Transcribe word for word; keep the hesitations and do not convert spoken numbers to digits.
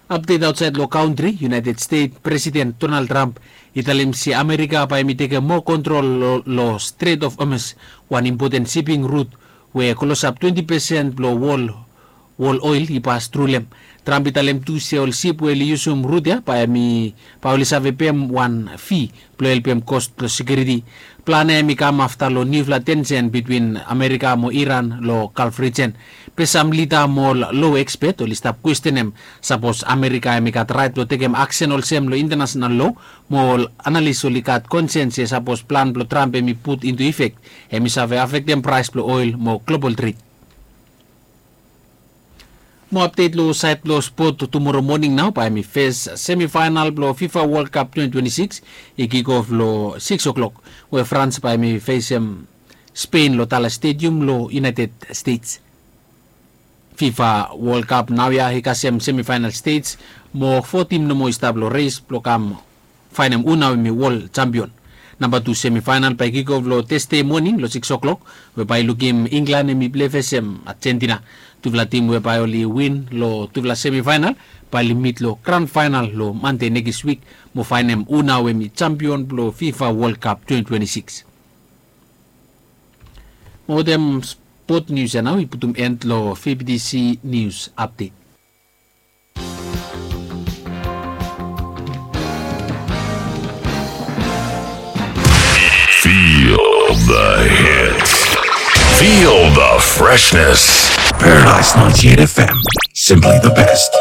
Apdet aotsaed long kantri, United Stet Presiden Donald Trump i talem se Amerika bae hem i tekem moa kontrol long Stret of Hormuz, wan impoten siping rut we klosap twenti pesen blong wol oel i pas tru long hem. Trump i talem tu se ol sip we oli yusum rut ya bae oli save pem wan fi blong helpem kos blong sekiuriti. Plan ya hem i kam afta long niufala tensen bitwin Amerika mo Iran long Gulf rijen. Be sam lida mo ol loa ekspet oli stap kwestenem sapos Amerika hem i gat raet blong tekem aksen olsem long intanasonal loa. Mo ol analis oli gat konsen se sapos plan blong Trump hem i put intu ifek, hem i save afektem praes blong oel mo global tred. Mo apdet long saed blong spot, tumora moning nao bae hem i fes semifaenal blong FIFA World Cup twenty twenty-six i kikof long sikis o'klok, we Frans bae hem i fesem Spen long Dallas Stadium long United States. FIFA World Cup naoia i kasem semifaenal stej, mo fo tim nomo i stap long res blong kam faenem hu nao hem i wol jampion. Namba tu semifaenal bae i kikof long Tasde moning long sikis o'klok, we bae i lukim Inglan hem i plei fesem Ajentina. Tufala tim we bae oli win long tufala semifaenal bae oli mit long gran faenal long Mande nekis wik mo faenem hu nao hem i jampion blong FIFA World Cup twenty twenty-six. Mo wetem spot nius ya nao i putum en long V B T C Nius Apdet. Feel the hits. Feel the freshness. Paradise ninety-eight F M. Simply the best.